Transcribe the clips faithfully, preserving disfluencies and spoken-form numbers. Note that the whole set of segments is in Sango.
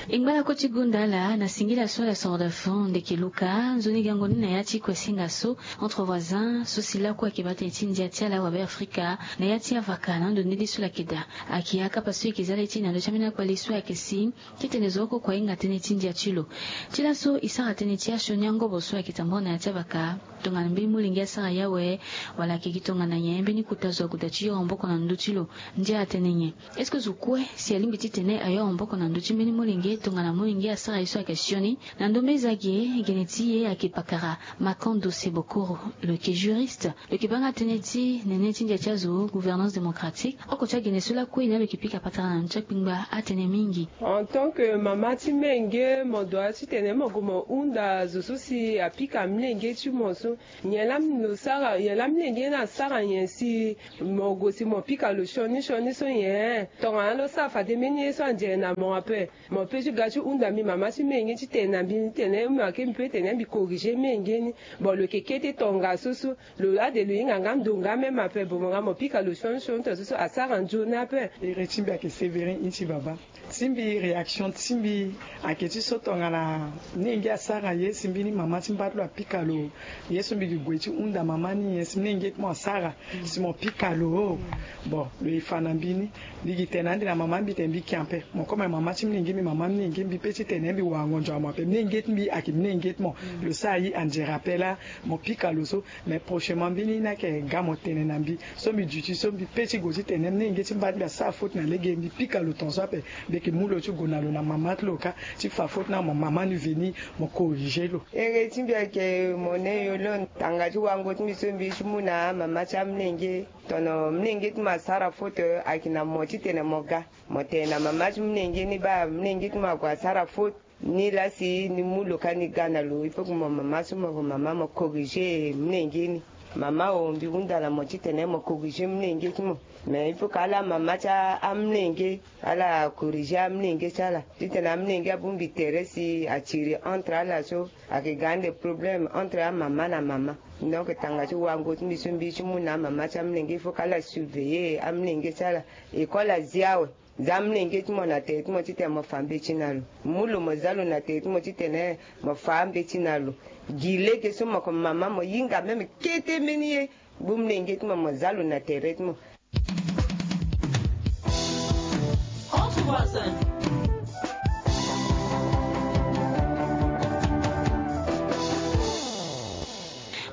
E ngba lakue ti gonda ala na singila so ala soro da fond ndeke luka nzoni gango ni na ya ti kuesinga so entre voisins so si lakue ayeke baa tënë ti ndia ti ala wabe afrika na ya ti avaka na ando ni li so ala yeke daa. Ayeke akapa so e yeke za le ti na ndö ti ambeni akpali so ayeke si titene zo oko kue ahinga tënë ti ndia ti lo. Ti laso e sara tënë ti asioni angobo so ayeke tambula na ya ti avaka tongana mbeni molenge asara yawe wala ayeke gi tongana nyen mbeni kota zo ague daa ti yoro maboko na ndö ti lo. Ndia atene nyen? Est-ce que zo kue si alingbi titene ayoro maboko na ndö ti mbeni molenge tongana molenge asara ye so ayeke sioni? Na ndo mbeni za ge gene ti e ayeke pakara makan dose bokoro. Lo yeke juriste. Lo yeke baa nga tënë ti nene ti ndia ti azo gouvernance démocratique. Oko ti agene so lakue ni alo yeke pika patara na ndö ti akpingba atene mingi. En tant que mama ti mlenge mo doit titene mo gue mo hunda zo so si apika mlenge ti mo so nyen laa lo sara nyen laa mlenge ni asara nyen si mo gue si mo pika lo sioni sioni so nyen? Tongana lo sara fade mbeni ye so anzere na mo ape. Mo pe ti ga ti hunda mbi mama ti menge ti tene na mbi ni tene mo yeke mbi pe tene mbi corriger menge ni. Bon lo yeke kete tongaso so lo ade lo hinga nga ndo nga même ape bon mo nga mo pika lo sioni sioni tongaso so asara nzoni ape. Ere ti mbi ayeke Séverin Inti Baba. Ti mbi réaction ti mbi ayeke ti so tongana menge asara ye si mbeni mama ti mba ti lo apika lo ye so mbi gi gue ti hunda mama ni nyen si menge ti mo asara si mo pika lo. Bon lo ye fa na mbi ni. Mbi gi tene na ande na mama mbi tene mbi kia ape mo koma mama ti mlenge mbi mama mlenge mbi pe ti tene mbi wango nzua mo ape mlenge ti mbi ayeke mlenge ti mo. Lo sara ye anzere ape laa mo pika lo so. Mais prochainement mbeni ni ayeke ga mo tene na mbi so mbi duti so mbi pe ti gue ti tene mlenge ti mba ti mbi asara faute na lege mbi pika lo tongaso ape. Mbi yeke mu lo ti gue na lo na mama ti lo kâ ti fa faute na mo mama ni veni mo corriger lo. Ere ti mbi ayeke mo ne yo lo tanga ti wango ti mbi so mbi ye ti mu na amama ti amlenge. Tono mlenge ti mo asara faute ayeke na mo titene mo ga mo tene na mama ti mlenge ni baa mlenge ti mo ague asara faute. Ni laa si ni mu lo kâ ni ga na lo il faut que mo mama so mo mama mo corriger mlenge ni. Mama o mbi hunda na mo titene mo corriger mlenge ti mo. Mais il faut que ala mama ti amlenge ala corriger amlenge ti ala titene amlenge abongbi tere si atiri entre ala so ayeke ga ande problème entre amama na mama. Donc tanga ti wango ti mbi so mbi ti mu na amama ti amlenge il faut que ala surveiller amlenge ti ala. École azi awe. Za amlenge ti mo na tere ti mo titene mo fa mbeti na lo. Mu lo mo za lo na tere ti mo titene mo fa ambeti na lo. Gi lege so mo ko mama mo hinga même kete mbeni ye. Gbu mlenge ti mo mo za lo na tere ti mo.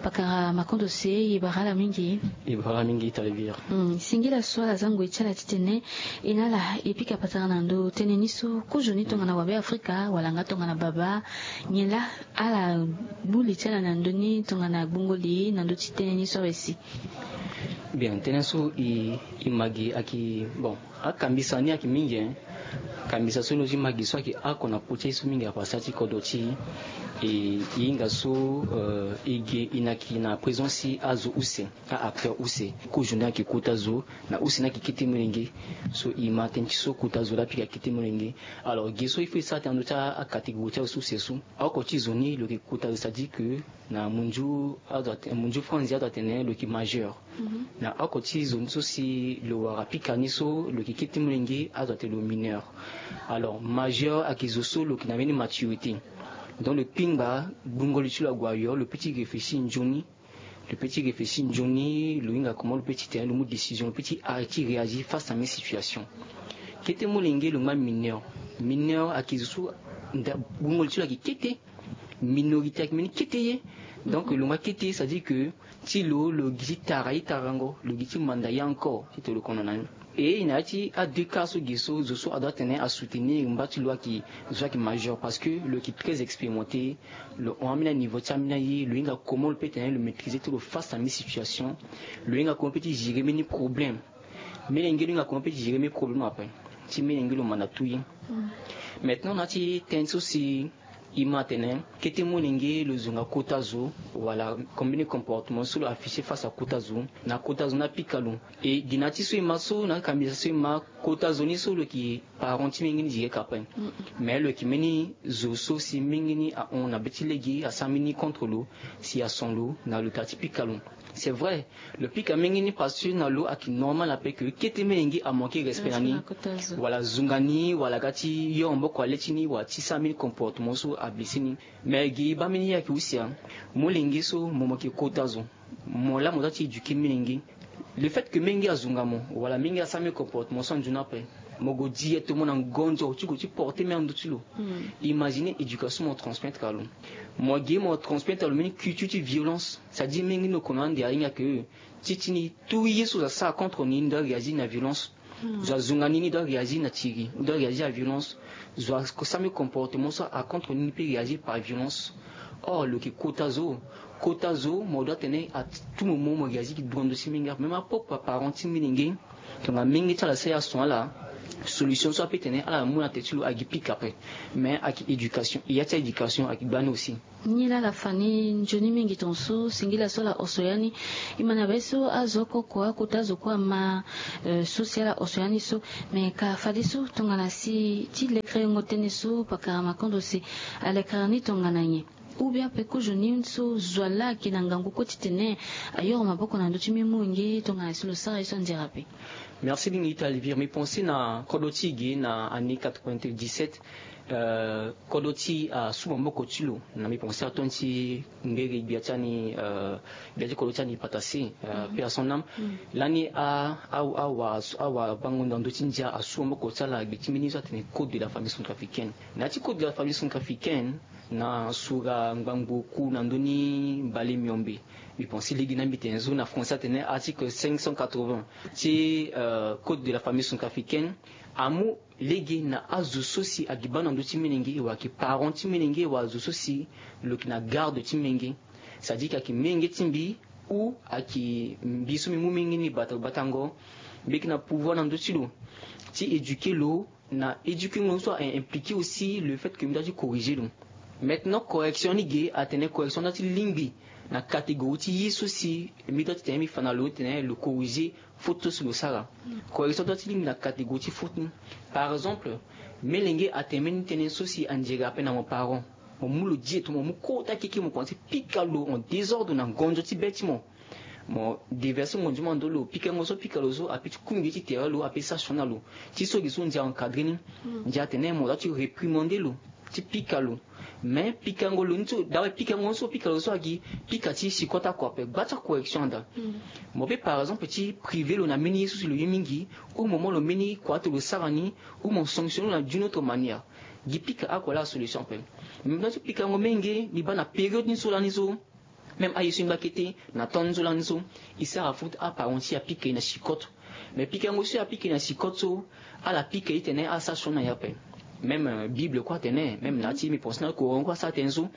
Pakara makondo se e bara ala mingi. E bara ala mingi talibir. Singila so ala za ngoi ti ala titene e na ala e pika patara na ndo tënë ni so kozo ni tongana wabe afrika wala nga tongana baba. Nyen laa ala gbu li ti ala na ndö ni tongana gbungo li na ndö ti tënë ni so awe si. Bien tënë so e ma gi ayeke bon akambisa ni ayeke mingi. Kambisa so ni oti ma gi so ayeke oko na kpo ti aye so mingi apasa ti kodro ti e. E hinga so e ge e na ki na présence ti azo use a-acteur use. Kozo ni ayeke kota zo na use ni ayeke kete molenge. So e ma tënë ti so kota zo laa pika kete molenge. Alors ge so il faut e sara tënë na ndö ti acatégorie ti azo so use so. Oko ti zo ni lo yeke kota zo c'est-à-dire que na munzu azo ate- munzu franzi azo atene lo yeke majeur. Na oko ti zo ni so si lo wara pika ni so lo yeke kete molenge azo atene lo mineur. Alors majeur ayeke zo so lo yeke na mbeni maturité. Donc lo kpingba gbungo li ti lo ague ayo lo pe ti réfléchir nzoni. Lo pe ti réfléchir nzoni lo hinga comment lo pe ti tene lo mu décision lo pe ti arrêter réagir face à mbeni situation. Kete molenge lo ngba mineur. Mineur ayeke zo so nda gbungo li ti lo ayeke kete. Minorité ayeke mbeni kete ye. Donc lo ngba kete ye c'est-à-dire que ti lo lo gi ti tara ye tarango lo gi ti manda ye encore titene lo kono na ni. E na ya ti adeux cas so ge so zo so adoit atene asoutenir mba ti lo ayeke zo so ayeke majeur parce que lo yeke très expérimenté. Lo hon ambeni aniveau ti ambeni aye lo hinga comment lo pe tene lo maîtriser ti lo face na mbeni situation. Lo hinga comment lo pe ti gérer mbeni problème. Melenge lo hinga comment lo pe ti gérer mbeni problème ape. Ti melenge lo manda tout ye. Maintenant na ya ti tënë so si e ma atene kete molenge lo zo nga kota zo wala comme mbeni comportement so lo afficher face à kota zo na kota zo ni apika lo. E gi na ya ti so e ma so na akambisa so e ma kota zo ni so lo yeke parent ti mingi ni digi eka ape. Mais lo yeke mbeni zo so si mingi ni ahon na be ti lege asara mbeni contre lo, si ason lo na lo taa ti pika lo. C'est vrai, lo pika mingi ni parce que na lo ayeke normal ape ke kete mingi amanke respect na ni, wala zunga ni, wala ga ti yo maboko ale ti ni, wala ti sara mbeni comportement so ablessé ni. Mais gi baa mbeni ye ayeke use ya, molenge so mo mo yeke kota zo, mo laa mo za ti éduquer molenge. Le fait que mingi azunga mo, wala mingi asara mbeni comportement so anzoni ape, mo gue directement na ngonzo ti gue ti porter mbeni ando ti lo. Imagine éducation mo transmettre alo. Mo gi mo transmettre alo mbeni culture ti violence. C'est à dire mingi ni lo kono ande ahinga ke ti ti ni tout ye so zo asara contre ni, ni doit réagir na violence. Zo azunga ni, ni doit réagir na tiri, ni doit réagir à violence. Zo asara mbeni comportement so acontre ni, ni peut réagir par violence. Or lo yeke kota zo, kota zo mo doit tene à tout moment mo réagir gi duando ti mingi ape. Même apropre aparent ti mingi, tongana mingi ti ala asara ason ala, solution so apeut tene ala mu na tere ti lo agi pika ape. Mais ayeke éducation, e ya ti éducation ayeke gbani aussi. Ni laa ala fa ni nzoni mingi tongaso, singila so ala oso ya ni. E ma na be so azo oko kua, akota azo kue ama, eh, so si ala oso ya ni so. Me ka fadeso tongana si ti lekerengo tënë so pakara makondo si alekere ni tongana nyen? Ou bien peko zo ni so zo laa ayeke na ngangu kue titene ayoro maboko na ndö ti mbeni molenge tongana si lo sara ye so anzere ape. Merci mingi Talvir. Mbi pense na kodro ti e ge na année quatre-vingt-dix-sept, euh, kodro ti e asu maboko ti lo. Na mbi pense aton ti ngere gbia ti ani, euh, gbia ti kodro ti ani Patase, euh, paix à son âme. Lani a, a, awa, awa bango na ndö ti ndia asu maboko ti ala gbe ti mbeni so atene Code de la famille centrafricaine. Na ya ti Code de la famille centrafricaine, na sura ngbangbo oku na ndö ni mbale miombe. Mbi pense lege na mbi tene so na français atene article cinq cent quatre-vingts ti, euh, Code de la famille centrafricaine. Amu lege na azo so si ayeke baa na ndö ti molenge, wala ayeke parent ti molenge, wala azo so si lo yeke na garde ti molenge. C'est-à-dire que ayeke molenge ti mbi, ou ayeke mbi so mbi mu molenge ni bata, batango, mbi yeke na pouvoir na ndö ti lo ti éduquer lo. Na éduquer ngon so a impliquer aussi le fait que mbi doit ti corriger lo. Maintenant correction ni ge atene correction doit ti lingbi na catégorie ti ye so si mbi doit ti tene mbi fa na lo titene lo corriger faute so si lo sara. Correction doit ti lingbi na catégorie ti faute ni. Par exemple, molenge atene mbeni tënë so si anzere ape na mo parent, mo mu lo directement, mo mu kota keke, mo komanse pika lo en désordre na ngonzo ti be ti mo. Mo déverser ngonzo ti mo na ndö lo, pikango so apika lo so apeut ti kungbi ti tere lo, apeut ti sara sioni na lo. Ti so gi so ndia encadrer ni, ndia atene mo doit ti réprimander lo, ti pika lo. Mais pikango lo ni so, dawe pikango ni so pika lo so agi pika ti sikote oko ape, gba ti acorrection anda. Mo peut par exemple ti priver lo na mbeni ye so si lo ye mingi, ou mo mu lo mbeni kua ti lo sara ni, ou mo sanctionner lo na d'une autre manière. Gi pika oko laa asolution ape. Mbi doit ti pikango molenge, mbi baa na période ni so lani so. Même aye so e ngba kete na temps ni so lani so, e sara faute, aparent ti e apika e na sikote. Mais pikango so e apika e na sikote so, ala pika e titene asara sioni na e ape. Même, euh, Bible kue atene, même na ya ti mbi pense na Coran kue asara tënë so.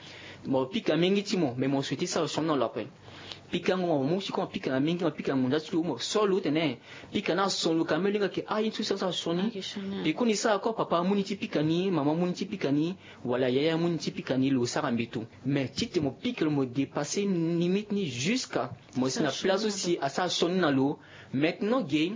Mo pika mingi ti mo, mais mo souhaiter sara sioni na lo ape. Pikango mo mu si kue mo pika na mingi, mo pika ngonza ti lo, mo so lo tene pika na son lo ka, me lo hinga ke aye so si asara sioni. Peko ni sara kue papa amu ni ti pika ni, mama amu ni ti pika ni, wala yaya amu ni ti pika ni, lo sara mbeto. Mais titene mo pika lo, mo dépasser limite ni jusqu'à mo si na place so si asara sioni na lo. Maintenant ge,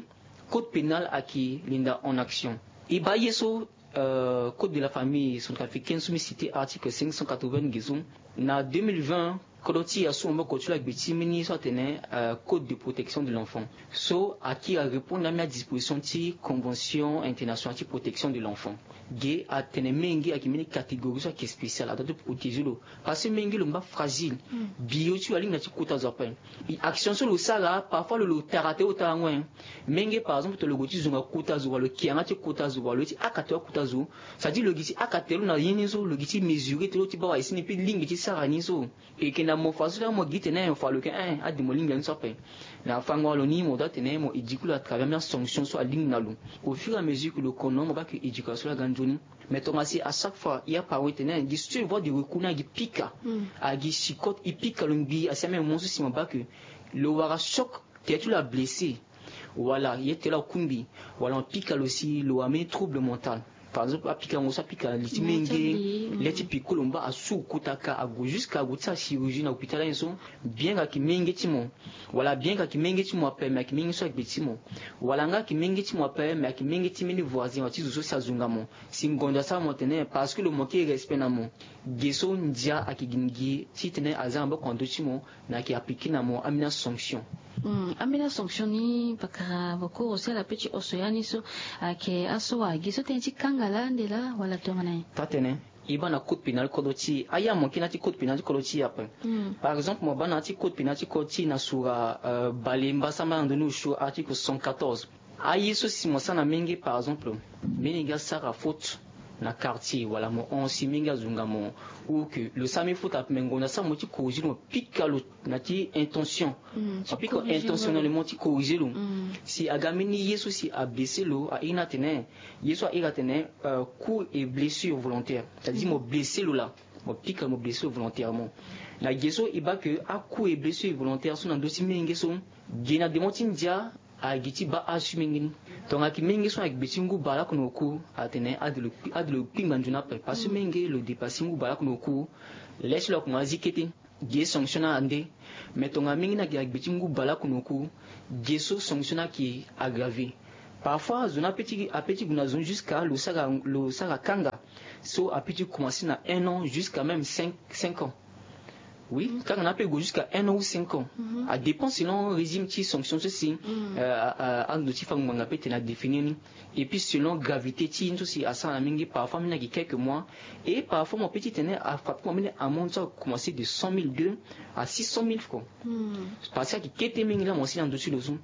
code pénal ayeke linda en action. E baa ye so, euh, code de la famille centrafricaine so mbi citer article cinq cent quatre-vingts ge so, na deux mille vingt, kodro ti e asu maboko ti lo agbe ti mbeni so atene, euh, code de protection de l'enfant. So aki arépondre ambeni adisposition ti convention internationale ti protection de l'enfant. Ge atene menge ayeke mbeni catégorie so ayeke spéciale, adoit ti protéger lo. Parce que menge lo ngba fragile. Bio ti lo alingbi na ti kota zo ape. E action so lo sara, parfois lo, lo tara tere lo tara ngoi. Menge par exemple tongana lo gue ti zonga kota zo, wala lo ke yanga ti kota zo, wala lo ye ti haka tere akota zo. C'est-à-dire lo gi ti haka tere lo na ye ni so, lo gi ti mesurer tere lo ti baa wala e si ni peut lingbi ti sara ni so. E yeke na mo fa so laa mo gi tene mo fa lo yeke, eh, ade mo lingbi ani so ape. Na fango na lo ni mo doit tene mo éduquer lo à travers ambeni asanction so alingbi na lo. Au fur et à mesure que lo kono, mo baa ke éducation laa aga nzoni. Mais tongana si à chaque fois e ya paro e tene gi seule voie de recours ni agi pika, agi sikote, e pika lo ngbii, asi ambeni mo so si mo baa ke lo wara choc, tere ti lo ablessé, wala ye ti lo akungbi, wala mo pika lo si lo wara mbeni trouble mental. par exemple apikango so apika li ti menge, le ti piko lo mba asu kota ka ague jusqu'à ague ti achirurgie na hôpital aye so. Bien ka ki menge ti mo, wala bien ka ki menge ti mo ape mais aki menge so agbe ti mo, wala nga aki menge ti mo ape mais aki menge ti mbeni voisin wala ti zo so si azunga mo. Si ngonda asara mo atene parce que lo manque respect na mo, ge so ndia aki gi ngi titene aza na boko na ndö ti mo, na aki appliquer na mo ambeni asanction. Ambeni asanction ni pakara bokoro si ala pe ti oso ya ni so, ayeke aso wa gi so tënë ti kanga laa nde laa wala tongana nyen? Taa tene. E baa na code pénal kodro ti e, aye amoke na ya ti code pénal ti kodro ti e ape. Par exemple mo baa na ya ti code pénal ti kodro ti e na sura bale mbasara mbasara na ndoni osio article cent quatorze. Aye so si mo sara na menge par exemple, menge asara faute na quartier wala mo hon si menge azunga mo, ou que lo sara mbeni faute ape mais ngonda asara mo ti corriger lo mo pika lo na ti intention. Ti pika intentionnellement ti corriger lo. Si aga mbeni ye so si ablesser lo airi ni atene, ye so airi atene coup et blessure volontaire, c'est à dire mo blesser lo laa, mo pika lo mo blesser lo volontairement. Na ge so e baa que a coup et blessure volontaire so na ndö ti menge so, ge na demo ti ndia, agi ti baa asu menge ni. Tongana ki menge so na gbe ti ngu baleoko na oku, atene ade lo kpingba nzoni ape parce que menge lo depasser ngu baleoko na oku. Laisse lo akoma azi kete, ge sanction na ande. Mais tongana menge ni agi na gbe ti ngu baleoko na oku, ge so sanction ni aki aggraver. Parfois zo ni ape ti ape ti gue na zo ni jusqu'à lo sara lo sara kanga. So ape ti commencer na un an jusqu'à même cinq cinq ans. Oui, kanga na ape gue jusqu'à un an ou cinq ans. Adépend selon régime ti sanction so si ando ti fango ngbanga ape tene adéfinir ni. Et puis selon gravité ti ye ni so si asara na mingi, parfois mbi na gi quelques mois. Et parfois mo pe ti tene afrappe mo mbi na amende so akomanse de cent mille deux à six cent mille francs. Parce que aki kete mingi laa mo si na ndo ti lo so.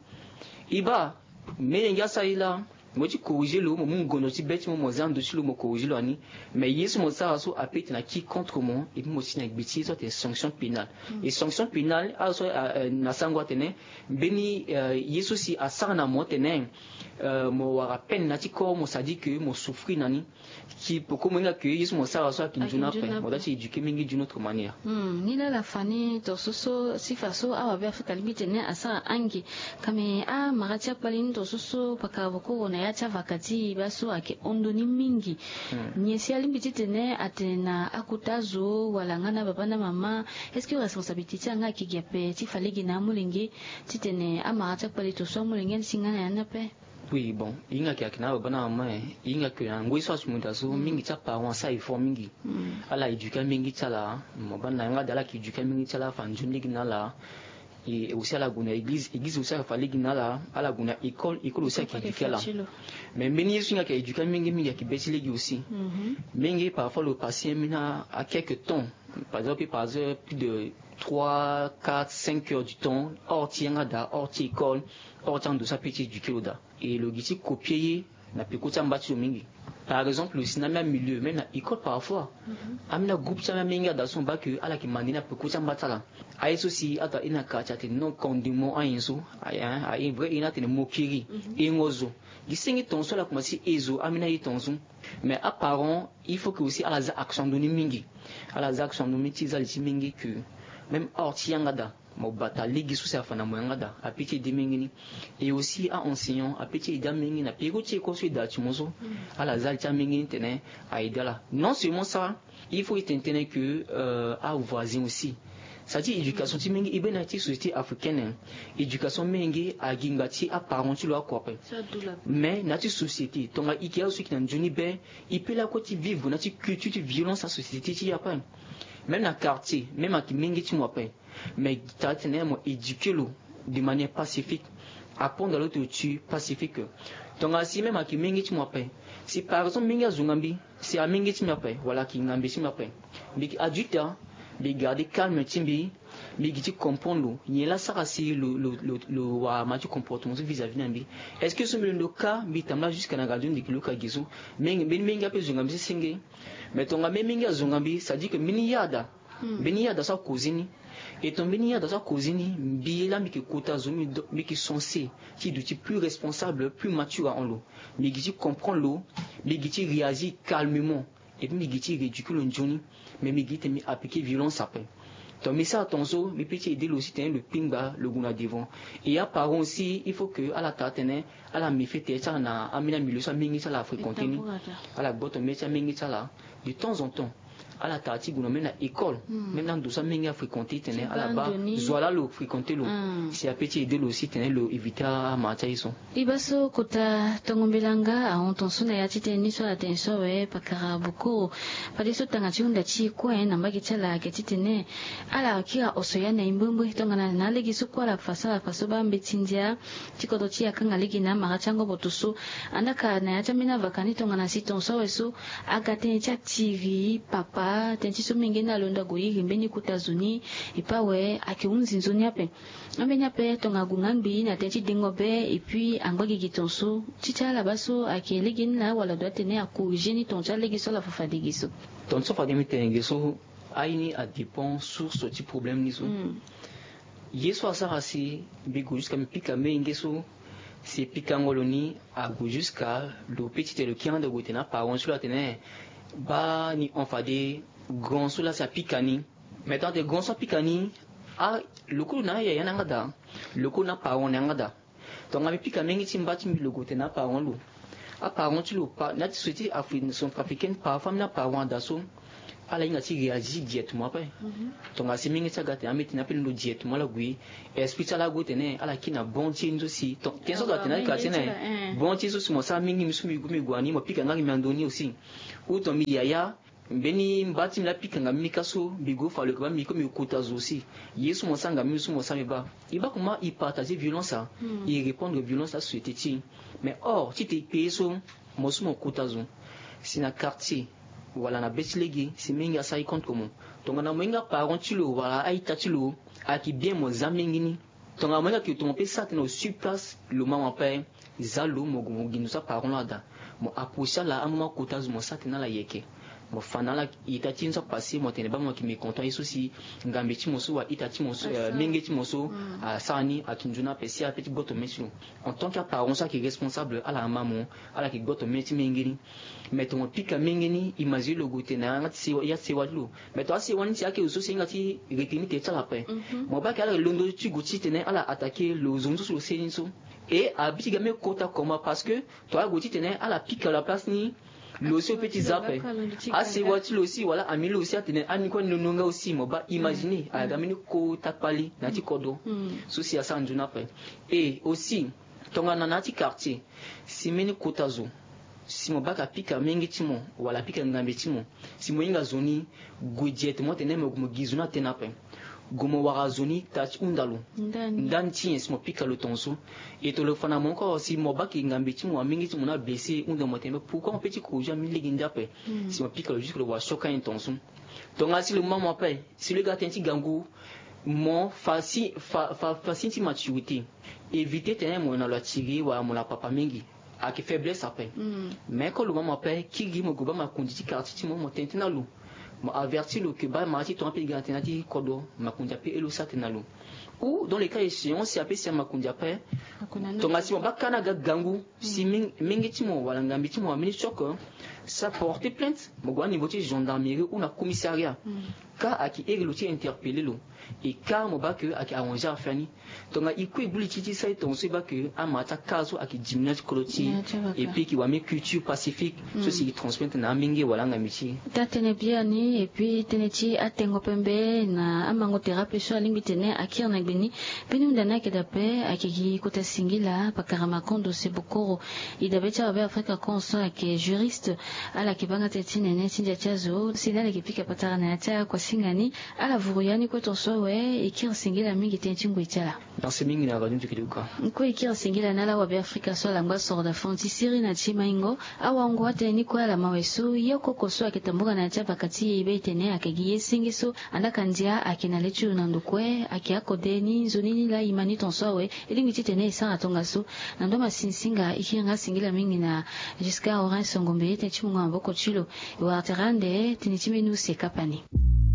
E baa, menge asara ye laa, mo ti corriger lo, mo mu ngondo ti be ti mo mo za ndo ti lo mo corriger lo ani. Mais ye so mo sara so ape tene aki contre mo. Et puis mo si na gbe ti ye so atene sanction pénale. Et sanction pénale azo so na sango atene mbeni ye so si asara na mo tene mo wara peine na ti corps mo, c'est à dire que mo souffrir na ni. Ki poko mo hinga ke ye so mo sara so aki nzoni ape, mo da ti éduquer mingi d'une autre manière. Ni laa la fani tonso so sifa so awabe afrika alingbi tene asara ange. Kame amara ti akpali ni tonso so pakara bokoro na ya ti avaka ti e baa so ayeke hon ndo ni mingi. Nyen si alingbi titene atene na akota zo wala nga na baba na mama? Est-ce que responsabilité ti yanga ayeke gi ape ti fa lege na amolenge titene amara ti akpali tonso amolenge ni si nga na ya ni ape? Oui, bon, e hinga ke ayeke na ababa na amama e, e hinga ke na ngoi so asu mo daa so mingi ti aparent asara effort mingi. Ala éduquer amenge ti ala. Mo baa na yanga daa ala yeke éduquer amenge ti ala afa nzoni lege na ala. Et aussi ala gue na église, église aussi ayeke fa lege na ala. Ala gue na école, école aussi ayeke éduquer ala. Mais mbeni ye so e hinga ke éduquer amenge mingi ayeke be ti lege aussi. Menge parfois lo passer ambeni a quelque temps, par exemple par exemple plus de trois quatre cinq heures du temps hors ti yanga daa, hors ti école, hors ti ando so ape ti éduquer lo daa. Et lo gi ti copier ye na peko ti amba ti lo mingi. Par exemple lo si na ambeni amilieu même na école parfois, ambeni agroupe ti ambeni amenge ada so mo baa ke ala yeke mande ni na peko ti amba ti ala. Aye so si ato aye na quartier atene non condiment ayen so. Aye vrai aye ni atene moquerie. Hengo zo. Gi senge tongaso ala komanse he zo ambeni aye tongaso. Mais aparent il faut que aussi ala za action ndo ni mingi. Ala za action ndo ni ti za li ti mingi que même hors ti yanga daa mo bata lege so si afa na mo yanga daa ape ti ede mingi ni. Et aussi a-enseignant ape ti ede amingi na peko ti école so e daa ti mo so. Ala za li ti amingi ni tene a ede ala. Non seulement ça, il faut e tene tënë que avoisin aussi. Ça ti éducation ti mingi e be na ya ti société africaine. Éducation mingi agi ngba ti aparent ti lo oko ape. Mais na ya ti société tongana e yeke azo so e yeke na nzoni be, e pe lakue ti vivre na ya ti culture ti violence na société ti e ape. Même na quartier même ayeke mingi ti mo ape. Mais tara tene mo éduquer lo de manière pacifique. Apprendre à l'autre tu pacifique. Tongana si même ayeke mingi ti mo ape, si par exemple mingi azunga mbi, si amingi ti mbi ape wala ayeke ngambe ti mbi ape, mbi yeke adulte, mbi garder calme ti mbi. Mbi gi ti comprendre lo nyen laa sara si lo lo lo wara ma ti comportement so vis-à-vis na mbi. Est-ce que so mbi londo ka mbi tambula jusque na radio mbi gi lo ka gi so? Mbeni mingi ape zonga mbi sesenge. Mais tongana mbeni mingi azonga mbi c'est à dire que mbeni yada mbeni yada so akozi ni. Et tongana mbeni yada so akozi ni mbi laa mbi yeke kota zo mbi yeke censé ti duti plus responsable plus mature ahon lo. Mbi gi ti comprendre lo. Mbi gi ti réagir calmement. Et puis mbi gi ti réduquer lo nzoni. Mais mbi gi ti tene mbi appliquer violence ape. Donc mbi sara tongaso mbi pe ti aide lo aussi tene lo kpingba lo gue na devant. Et aparent aussi il faut que ala tara tene ala mefete ti ala na ambeni amilio so amenge ti ala afréquente ni. Ala gboto mê ti amenge ti ala de temps en temps. Ala tara ti gue na même na école, même na ndo so amenge afréquente tene ala baa zo wa laa lo fréquente lo. Si ape ti aide lo aussi tene lo éviter amara ti aye so. E baa so kota tongo mbela nga ahon tongaso na ya ti tënë ni so ala tene so awe pakara bokoro. Fadeso tanga ti hunda ti e kue na mbage ti ala ayeke titene ala kiri oso ya na e mbrimbri tongana na alege so kue ala fa so ala fa so baa mbeti ndia ti kodro ti e akanga lege na amara ti angoboto so. Andaa ka na ya ti ambeni avaka ni tongana si tongaso awe so aga tënë ti atiri papa tënë ti so menge ni alondo ague iri mbeni kota zo ni. E pe awe ayeke hunzi nzoni ape. Ambeni ape tongana ague nga ngbii na tënë ti dengo be. Et puis angba gigi tongaso ti ti ala baa so ayeke lege ni laa wala adoit atene acorriger ni tonga ti alege so ala fa fade ge so. Tongaso fade mbi tene ge so aye ni adépend source ti problème ni so. Ye so asara si mbi gue jusqu'à mbi pika menge so si pikango lo ni ague jusqu'à lo pe ti tene lo kiri ande gue tene aparent so lo atene baa ni hon fade grand so laa si apika ni. Mais tongana atene grand so apika ni, a lo kue lo na ayaya na yanga daa. Lo kue lo na aparent na yanga daa. Tongana mbi pika menge ti mba ti mbi lo gue tene aparent lo. Aparent ti lo pa na ya ti société centrafricaine parfois mbi na aparent ada so ala hinga ti réagir directement ape. Tongana si menge ti aga tene ambeti ni ape ni lo directement ala gue esprit ti ala ague tene ala kiri na bon ti ye ni so si tene so ala tene na ye ka ti tene bon ti ye so si mo sara menge mbi so mbi gue mbi gue ani mo pika nga gi mbi ando ni aussi. Ou tongana mbi yaya mbeni mba ti mbi laa pika nga mbi ka so mbi gue fa lo yeke baa mbi ko mbi kota zo aussi. Ye so mo sara nga mbi so mo sara mbi baa. E baa comment e partager violence a e répondre violence asociété ti e. Mais or ti te e kpe ye so mo so mo kota zo si na quartier wala na be ti lege si menge asara e contre mo. Tongana mo hinga parent ti lo wala a-ita ti lo ayeke bien mo za menge ni. Tongana mo hinga ke tongana pe sara tene au sur place lo mama ape. Za lo mo gue mo gi ndo so aparent lo ada. Mo approcher ala amama kota zo mo sara tene ala yeke. Mo fa na ala ita ti ye ni so apasser mo tene baa mo yeke mécontent ye so si ngambe ti mo so wala ita ti mo so menge ti mo so asara ni ayeke nzoni ape si ape ti gboto mê ti lo. En tant que aparent so ayeke responsable ala ama mo. Ala yeke gboto mê ti menge ni. Mais tongana pika menge ni imaginer lo gue tene na yanga ti sewa ya ti sewa ti lo. Mais tongana asewa ni ti ayeke lo so si hinga ti retenir tene ti ala ape. Mo baa ke ala yeke londo ti gue titene ala attaquer lo zo ni so si lo seni so. E abi ti ga mê kota comment parce que tongana ague titene ala pika lo na place ni. Lo si lo pe ti za ape. Asewa ti lo si wala ami lo si atene ani kue ani londo nga aussi mo baa imaginer ala ga mbeni kota kpali na ya ti kodro. So si asara nzoni ape. E aussi tongana na ya ti quartier si mbeni kota zo si mo baka pika menge ti mo wala pika ngambe ti mo si mo hinga zo ni gue directement tene mo gue mo gi zo ni atene ape. Gue mo wara zo ni taa ti hunda lo ndani ti nyen si mo pika lo tongaso. E tongana lo fa na mo encore si mo bake ngambe ti mo amenge ti mo ni ablessé hunda mo tene pourquoi mo pe ti corriger ambeni lege ni ndia ape. Si mo pika lo jusque lo wara choc anyen tongaso. Tongana si lo ma mo ape si lo ye ga tënë ti gangu mo fa si fa fa fa signe ti maturité. Éviter tene mo na lo atiri wala mo na papa mingi. Ayeke faiblesse ape. Mais ko lo ma mo ape kiri mo gue baa makonzi ti quartier ti mo mo tene tënë na lo. Mo avertir lo ke baa mara ti tongana ape e ga na tënë na ti kodro makonzi ape e lo sara tënë na lo. Ou dans le cas échéant si ape si amakonzi ape tongana si mo baa ka ni aga gangu si mingi ti mo wala ngambi ti mo amini choc. Sa porter plainte mo gue na niveau ti gendarmerie ou na commissariat. Ka ayeke iri lo ti interpeller lo. E ka mo baa ke ayeke arranger affaire ni. Tongana e kue e gbu li ti ti sara e tongaso e baa ke amara ti aka so ayeke diminuer ti kodro ti e. Et puis e yeke wara mbi culture pacifique so si e transmettre na amenge wala angambi ti e. Taa tënë biani et puis tënë ti atengo pembe na amango tere ape so alingbi tene akiri na gbe ni. Mbeni hunda ni ayeke dape ayeke gi kota singila pakara makondo sebokoro. E dabe ti awabe afrika konso ayeke juriste. Ala yeke baa nga tënë ti nene ti ndia ti azo si ni ala yeke pika patara na ya ti akuasinga ni. Ala vuru ya ni kue tongaso awe. E kiri singila mingi tënë ti ngoi ti ala. Merci mingi na radio nzokili uka. Kue e kiri singila na ala wabe afrika so ala ngba soro da fond ti siri na ti maingo. Awango atënë ni kue ala ma awe so ye koko so ayeke tambula na ya ti abaka ti e e be e tene ayeke gi ye senge so. Andaka ndia ayeke na le ti lo na ndo kue ayeke akode ni nzoni ni laa e ma ni tongaso awe. E lingbi titene e sara tongaso. Na ndo ma sinsinga e kiri nga singila mingi na jusqu'à orin songombe tënë ti mungo na maboko ti lo. E wara tere ande tënë ti mbeni use kapa ni.